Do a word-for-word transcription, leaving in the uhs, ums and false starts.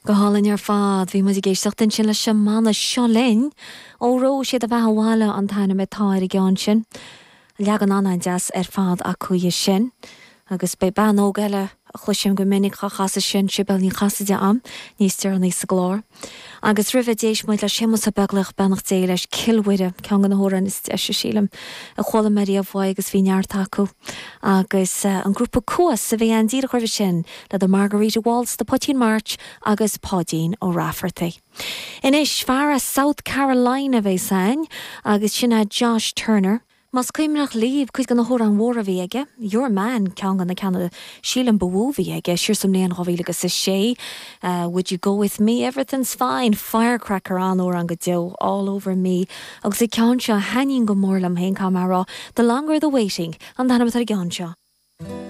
Go hálainn ar fad bhí muid ag éisteacht ansin leis an mbanna Seo Linn Óró Sé do Bheatha 'Bhaile an t-ainm atá ar an gceann sin. Leagan an-deas ar fad acu é sin. agus beidh bean óg eile a chloisim go minic á chasadh sin Sibéal Ní Chasaide am níos deireanaí sa gclár. Agus roimhe d'éist muid le Séamus Ó Beaglaoich beannacht Dé leis Cill Mhuire ceann de na hamhráin is deise sílim a chuala mé riamh uaidh agus bhí neart acu. Agus uh, an grúpa Cuas a bhí ann díreach roimhe sin le the Margarita Waltz, the Poitín March agus Páidín Ó Raifeartaigh. Anois fear as South Carolina bhí sain agus sin é Josh Turner. Más cuimhneach libh cuid de na hamhráin mhóra a bhí aige, Your Man ceann de na ceanna sílim ba mhó a bhí aige siar sa mbliain dhá mhíle agus a sé. Uh, would you go with me? Everything's fine. Firecracker an-amhrán go deo all over me. Agus an ceann seo thaitníonn go mór liom féin cá mar rá, The longer the waiting an t-ainm atá ar an gceann seo.